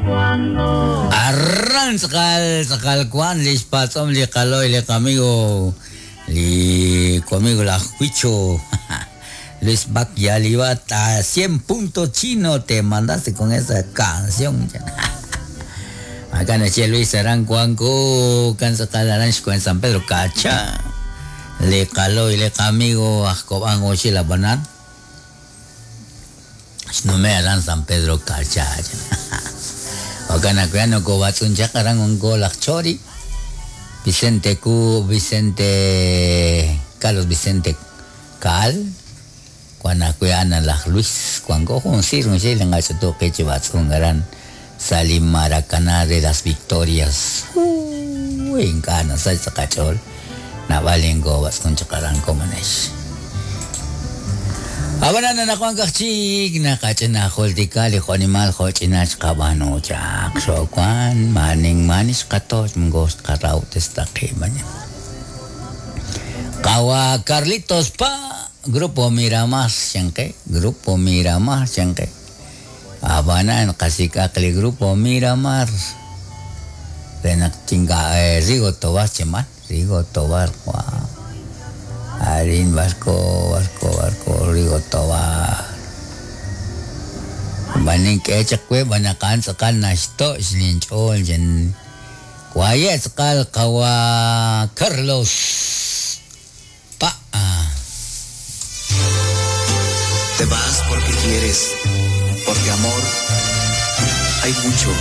Cuando. Arran tz'aqal tz'aqal wan li xpatz'om li qalo'y li qamigo li conmigo laj Huicho Luis Bac Yalibat a 100 puntos chino te mandaste con esa canción. Acá nache Luis Aran Cuanco, kan tz'aqal aran xkuen San Pedro Cacha. Li qalo'y li qamigo aj Kob'an oxil ab'anan xnume aran San Pedro Cacha. Jo'kan naq wi nokob'atz'un chaq aran wanko laj Chori, Vicente Cu, Vicente Carlos Vicente Caal, wan ajwi' a'an laj Luis wanko jun siir junxil li qach'utu qi chi b'atz'unk aran sa' li Maracaná de las Victorias. Uy, ink'a' nasach sa' qach'ool naab'al inkob'atz'un chaq aran komonex. Ab'anan anaqwan kaj chik naqach'ina jultika li jo'nimal jo'ch'ina xqab'aanu chaq xo'wan maanin maani xqatoch moko xqarahob'testaqi mañana. Qawa Carlitos Pa, Grupo Miramar xanqe, Grupo Miramar xanqe. Ab'anan qasik'aq li Grupo Miramar re naq chinga Rigo Tobar chemal, Rigo Tobar wa. Arin barco, barco, barco, Rigo Tobar. B'anin k'e chaq we b'anaqan tz'aqal naxto' xlinch'ool chen waye' tz'aqal qawa Carlos Pa. Te vas porque quieres, porque amor hay mucho.